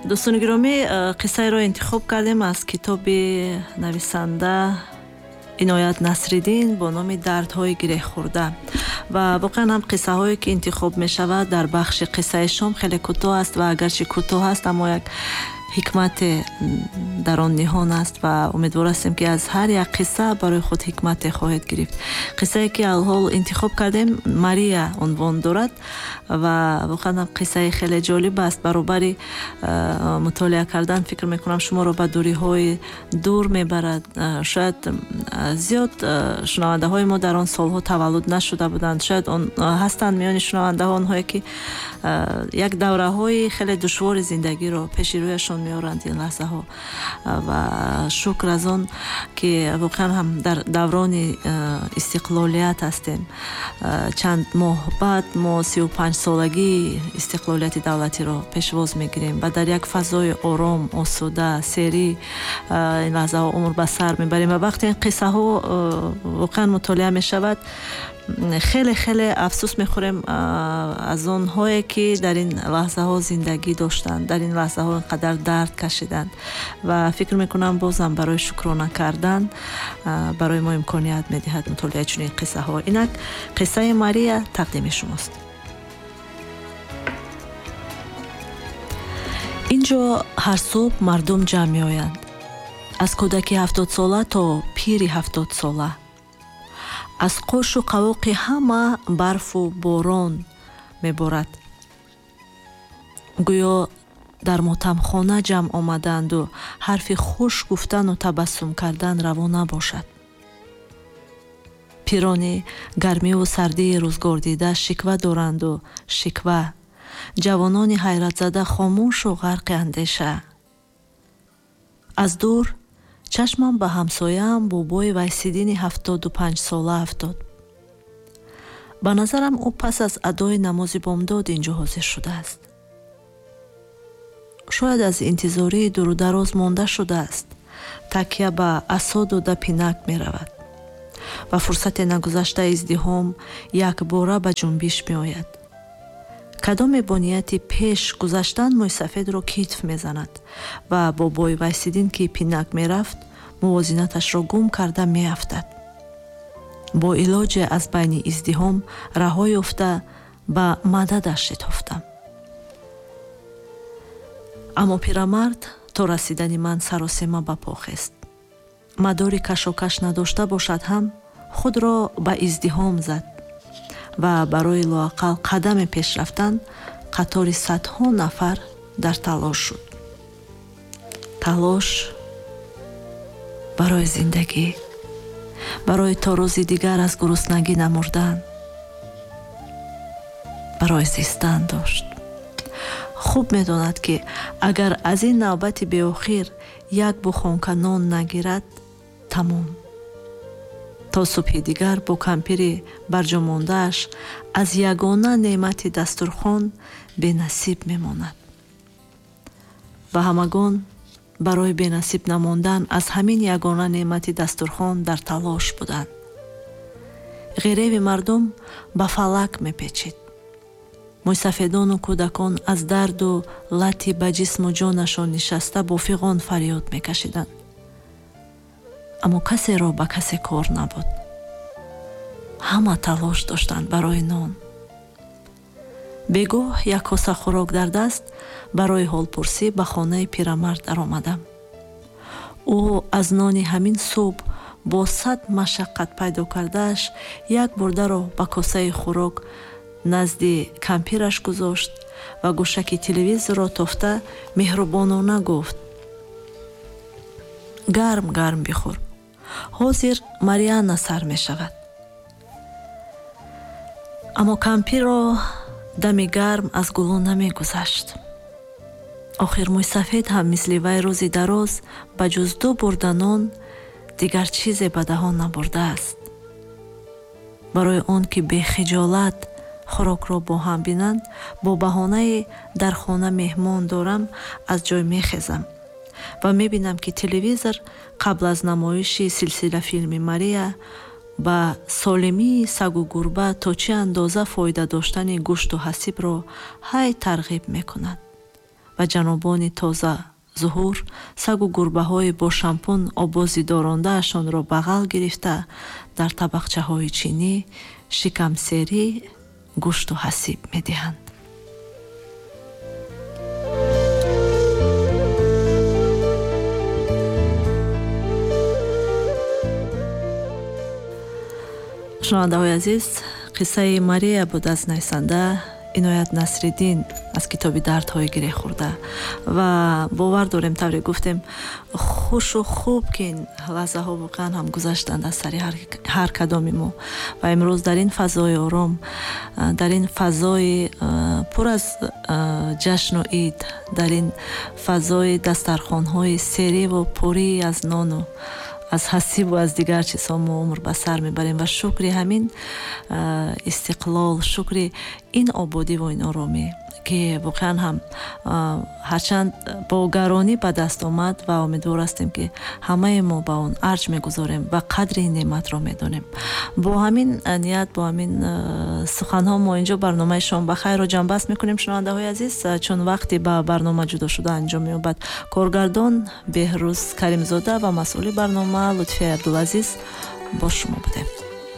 Дӯстони гиромӣ, қиссаеро интихоб кардем аз китоби нависанда Иноят Насриддин бо номи «Дардҳои гиреҳхӯрда». Ва воқеан ҳам қиссаҳое ки интихоб мешавад дар бахши қиссаи шом хеле кӯтоҳ аст ва агарчи кӯтоҳ аст, аммо як ҳикмате дар он ниҳон аст ва умедвор ҳастем, ки аз ҳар як қисса барои худ ҳикмате хоҳед гирифт. Қиссае ки алҳол интихоб кардем, «Мария» унвон дорад ва воқеан ҳам қиссаи хеле ҷолиб аст. Баробари мутолиа кардан, фикр мекунам, шуморо ба дуриҳои дур мебарад. Шояд зиёд шунавандаҳои мо дар он солҳо таваллуд нашуда буданд. Шояд ҳастанд миёни шунавандаҳо онҳое, ки як давраҳои хеле душвори зиндагиро пеши рӯяшон меоранд ин лаҳзаҳо. Ва шукр аз он, ки воқеан ҳам дар даврони истиқлолият ҳастем. Чанд моҳ баъд мо 35-солагии истиқлолияти давлатиро пешвоз мегирем ва дар як фазои ором, осуда, серӣ ин лаҳзаҳо умр ба сар мебарем. Ва вақте ин қиссаҳо воқеан мутолиа мешавад, хеле хеле афсӯс мехӯрем аз онҳое, ки дар ин лаҳзаҳо зиндагӣ доштанд, дар ин лаҳзаҳо инқадар дард кашиданд. Ва фикр мекунам, бозам барои шукрона кардан барои мо имконият медиҳад мутолиаи чунин қиссаҳо. Инак, қиссаи Мария тақдими шумост. Ин ҷо ҳар субҳ мардум ҷамъ меоянд, аз кӯдаки 70-сола то пири 70-сола. Аз қошу қавоқи ҳама барфу борон меборад, гӯё дар мотамхона ҷамъ омадаанду ҳарфи хуш гуфтану табассум кардан раво набошад. Пирони гармиву сардии рӯзгордида шиква доранду шиква, ҷавонони ҳайратзада хомӯшу ғарқи андеша. Аз дур чашмам ба ҳамсояам, бобои Вайсиддини 75-сола афтод. Ба назарам, ӯ пас аз адои намози бомдод ин ҷо ҳозир шудааст. Шояд аз интизории дурудароз монда шудааст, такя ба асо дода пинак меравад ва фурсате нагузашта издиҳом якбора ба ҷунбиш меояд. Кадоме бо нияти пеш гузаштан мӯйсафедро китф мезанад ва бобои Вайсиддин, ки пинак мерафт, мувозинаташро гум карда меафтад. Бо илоҷе аз байни издиҳом раҳо ёфта, ба мададаш шитофтам. Аммо пирамард то расидани ман саросема ба по хест. Мадори кашокаш надошта бошад ҳам, худро ба издиҳом зад ва барои лоақал қадаме пеш рафтан қатори садҳо нафар дар талош шуд. Талош барои зиндагӣ, барои то рӯзи дигар аз гуруснагӣ намурдан, барои зистан дошт. Хуб медонад, ки агар аз ин навбати беохир як бухонка нон нагирад, тамом, то субҳи дигар бо кампири барҷомондааш аз ягона неъмати дастурхон бенасиб мемонад. Ва ҳамагон барои бенасиб намондан аз ҳамин ягона неъмати дастурхон дар талош буданд. Ғиреви мардум ба фалак мепечид. Мӯйсафедону кӯдакон аз дарду лати ба ҷисму ҷонашон нишаста бо фиғон фарёд мекашиданд, аммо касеро ба касе кор набуд. Ҳама талош доштанд барои нон. Бегоҳ як коса хӯрок дар даст барои ҳолпурсӣ ба хонаи пирамард даромадам. Ӯ аз нони ҳамин субҳ бо сад машаққат пайдо кардааш як бурдаро ба косаи хӯрок назди кампираш гузошт ва гӯшаки телевизорро тофта меҳрубонона гуфт: «Гарм гарм бихӯр, ҳозир Марианна сар мешавад». Аммо кампирро дами гарм аз гулӯ намегузашт. Охир мӯйсафед ҳам мисли вай рӯзи дароз ба ҷуз ду бурда нон дигар чизе ба даҳон набурдааст. Барои он ки бехиҷолат хӯрокро бо ҳам бинанд, бо баҳонаи «дар хона меҳмон дорам» аз ҷой мехезам ва мебинам, ки телевизор қабл аз намоиши силсила филми Мария ба солимии сагу гурба то чӣ андоза фоида доштани гӯшту ҳасибро ҳай тарғиб мекунад. Ва ҷанобони тоза зуҳур сагу гурбаҳои бо шампун обози дорондаашонро бағал гирифта, дар табақчаҳои чинӣ шикамсерӣ гӯшту ҳасиб медиҳанд. Шунавандаҳои азиз, қиссаи Мария буд аз нависанда Иноят Насриддин аз китоби «Дардҳои гиреҳхӯрда». Ва бовар дорем, тавре гуфтем, хушу хуб, ки ин лаҳзаҳо воқеан ҳам гузаштанд аз сари ҳар кадоми мо ва имрӯз дар ин фазои ором, дар ин фазои пур аз ҷашну ид, дар ин фазои дастархонҳои сериву пурӣ аз нону аз ҳасибу аз дигар чизҳо мо умр ба сар мебарем ва шукри ҳамин истиқлол, шукри ин ободиву ин оромӣ, ки воқеан ҳам ҳарчанд бо гаронӣ ба даст омад, ва умедвор ҳастем, ки ҳамаи мо ба он арҷ мегузорем ва қадри ин неъматро медонем. Бо ҳамин ният, бо ҳамин суханҳо мо инҷо барномаи «Шом ба хайрро ҷамъбаст мекунем. Шунавандаҳои азиз, чун вақте ба барнома ҷудо шуда анҷом меёбад, коргардон Беҳрӯз Каримзода ва масъули барнома Лутфия Абдулазиз бо шумо будем.